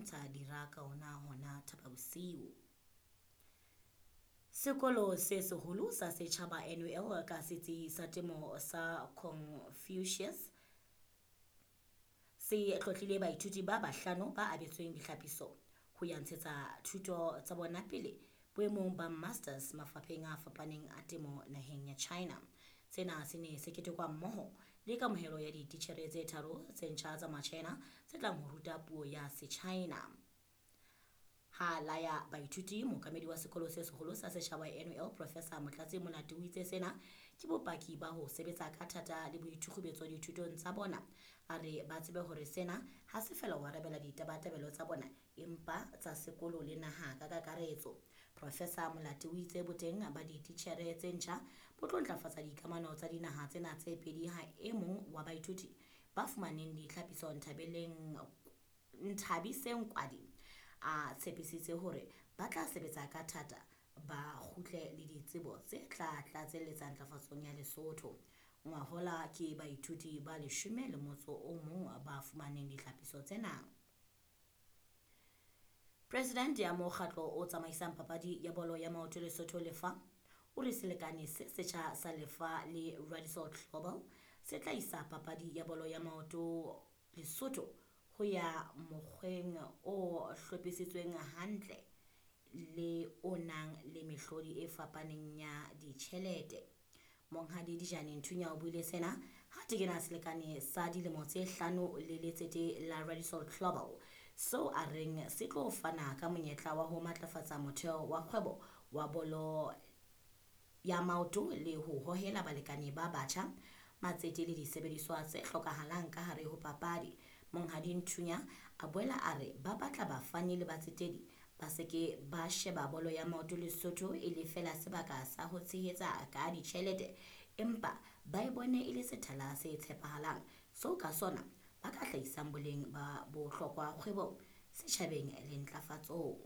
lwantsha dira ka ona hona Thapabosiu. Sekolo se seholo sa setjhaba NUL ka setsi sa temo sa Confucius se tlotlile baithuti ba bahlano ba abetsweng ditlhapiso ho ya ntshetsa thuto tsa bona pele boemong ba masters mafapheng a fapaneng a temo naheng ya China. Sena se ne se ketekwa mmoho le kamohelo ya dititjhere tse tharo tse ntjha tsa Machina tse tlang ho ruta puo ya Sechina. Ha laya baithuti, mookamedi wa sekolo se seholo sa setjhaba NUL Professor Motlatsi Molati o itse sena ke bopaki ba ho sebetsa ka thata le boithukgubetso dithutong tsa bona. A re ba tsebe hore sena ha se fela ho arabela ditabatabelo tsa bona empa tsa sekolo le naha ka kakaretso. Professor Molati o itse boteng ba dititjhere tse ntjha bo tlo ntlafatsa dikamano tsa dinaha tsena tse pedi ha e mong wa baithuti ba fumaneng ditlhapiso Nthabiseng Kwadi a tshepisitse hore ba tla sebetsa ka thata ba kgutle le ditsebo tse tla tlatselletsa ntlafatsong ya Lesotho. Ngwahola ke baithuti ba 11 ba fumaneng ditlhapiso tsena. President ya mokgatlo o tsamaisang papadi ya bolo ya maoto Lesotho Lefa o re selekane se setjha sa Lefa le Radisson Global se tla isa papadi ya bolo ya maoto Lesotho ho ya mokgweng o hlophisitsweng hantle le o nang le mehlodi e fapaneng ya ditjhelete. Monghadi Dijane Nthunya o buile sena ha tekena selekane sa dilemo tse 5 le letsete la Radisson Global seo a reng se tlo fana ka monyetla wa ho matlafatsa motheo wa kgwebo wa bolo ya maoto le ho hohela balekane ba batjha, matsete le disebediswa tse hlokahalang ka hare ho papadi. Monghadi Nthunya a boela a re ba batla bafani le batsetedi ba se ke ba sheba bolo ya maoto Lesotho e le feela sebaka sa ho tshehetsa ka ditjhelete, empa ba e bone e le sethala se tshepahalang seo ka sona ba ka hlahisang boleng ba bohlokwa kgwebong, setjhabeng le ntlafatsong.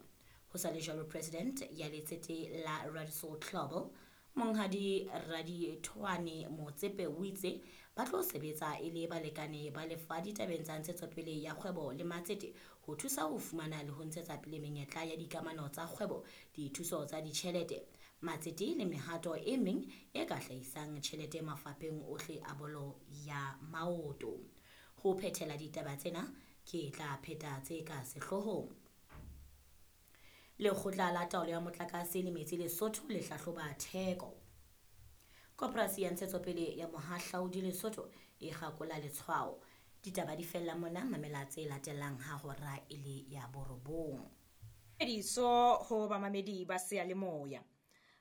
Ho sa le jwalo, President ya letsete la Radisson Global Monghadi Radithoane Motsepe o itse ba tlo sebetsa e le balekane ba Lefa ditabeng tsa ntshetsopele ya kgwebo le matsete ho thusa ho fumana le ho ntshetsa pele menyetla ya dikamano tsa kgwebo, dithuso tsa ditjhelete, matsete le mehato e meng e ka hlahisang tjhelete mafapheng ohle a bolo ya maoto. Ho phethela ditaba tsena ke tla pheta tse ka sehloohong. Lekgotla la taolo ya motlakase le metsi Lesotho le hlahloba theko. Koporasi ya ntshetsopele ya mohahlaudi Lesotho e kgakola letshwao. Ditaba di fella mona, mamela tse latelang ha hora e le ya 9. Ediso ho bamamedi ba seyalemoya.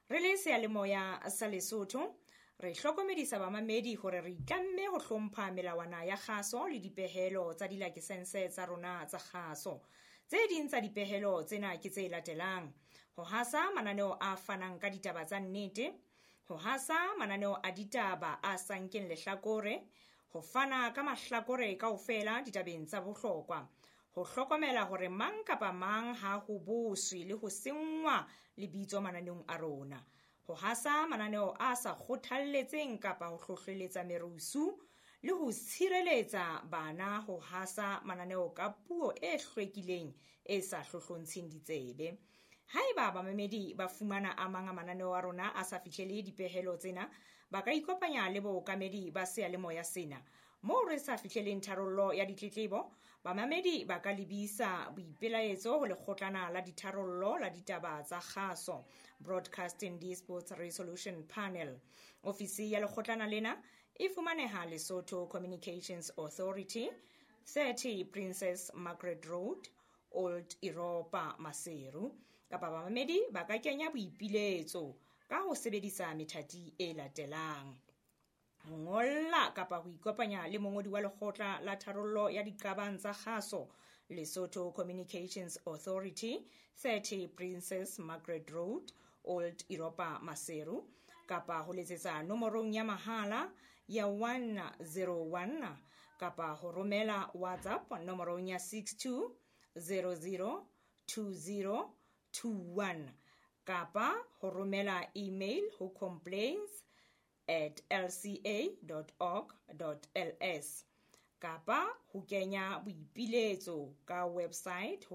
Re le seyalemoya sa Lesotho, re hlokomedisa bamamedi hore re itlamme ho hlompha melawana ya kgaso le dipehelo tsa dilakesense tsa rona tsa kgaso. Tse ding tsa dipehelo tsena ke tse latelang: ho hasa mananeo a fanang ka ditaba tsa nnete, ho hasa mananeo a ditaba a sa nkeng lehlakore, ho fana ka mahlakore kaofela ditabeng tsa bohlokwa, ho hlokomela hore mang kapa mang ha ho boswe le ho senngwa lebitso mananeong a rona, ho hasa mananeo a sa kgothalletseng kapa ho hlohleletsa merusu, le ho tshireletsa bana ho hasa mananeo ka puo e hlwekileng e sa hlohlontsheng ditsebe. Haeba bamamedi ba fumana a mang a mananeo a rona a sa fihlele dipehelo tsena, ba ka ikopanya le bookamedi ba seyalemoya sena. Moo re sa fihleleng tharollo ya ditletlebo, bamamedi ba ka lebisa boipelaetso ho lekgotlana la ditharollo la ditaba tsa kgaso, Broadcasting Disputes Resolution Panel. Ofisi ya lekgotlana lena e fumaneha Lesotho Communications Authority, 30 Princess Margaret Road, Old Europa, Maseru. Kapa bamamedi ba ka kenya boipiletso ka ho sebedisa methati e latelang: ho ngolla kapa ho ikopanya le mongodi wa lekgotla la tharollo ya diqabang tsa kgaso, Lesotho Communications Authority, 30 Princess Margaret Road, Old Europa, Maseru, kapa ho letsetsa nomorong ya mahala ya 101 kapa ho romela WhatsApp nomorong ya 62 00 20 21 kapa ho romela email ho complaints@lca.org.ls kapa ho kenya boipiletso ka website ho